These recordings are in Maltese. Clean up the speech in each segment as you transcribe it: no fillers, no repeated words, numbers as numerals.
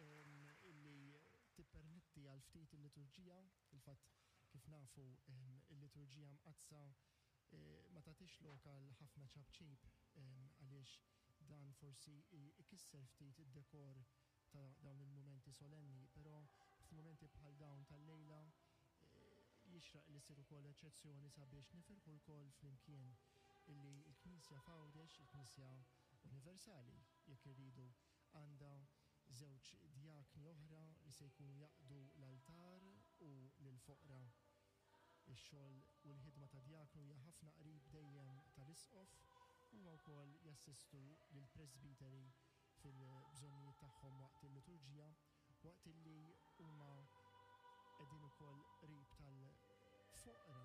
illi tippermetti għal ftit il-liturġija. Fil-fatt, kif nafu, il-liturġija mqaddsa ma tagħtix lok għal ħafna ċapċip għaliex dan forsi ikisser ftit id-dekor ta' dawn il-mumenti solenni, però f'mumenti bħal dawn tal-lejla jixraq li ssir ukoll eċċezzjoni sabiex nifirħu lkoll flimkien illi l-Knisja f'Għawdex, il-Knisja Universali jekk irridu, għandha żewġ djakni oħra li se jkunu jaqdu l-altar u lill-foqra. Ix-xogħol u l-ħidma ta' djaknu hija ħafna qrib dejjem tal-isqof, huma wkoll jassistu lill-presbiteri fil-bżonnijiet tagħhom waqt il-liturġija, waqt illi huma qegħdin ukoll qrib tal-foqra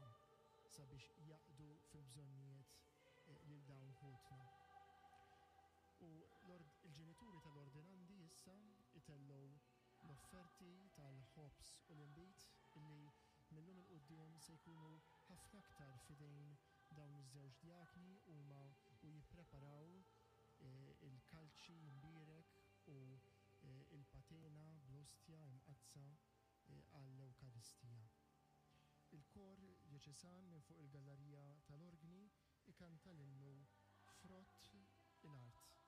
sabiex jaqdu fil-bżonnijiet lil dawn ħutna. U l-ġenituri tal-ordinandi issa jtellgħu l-offerti tal-ħobż u l-inbid illi mil-lum 'il quddiem se jkunu ħafna aktar f'idejn dawn iż-żewġ djakni huma u jippreparaw il-kalċi mbierek u l-patena bl-ostja imqaddsa għall-Ewkaristija. Il-kor djoċesan minn fuq il-gallarija tal-orgni ikanta l-innu Frott il-Art.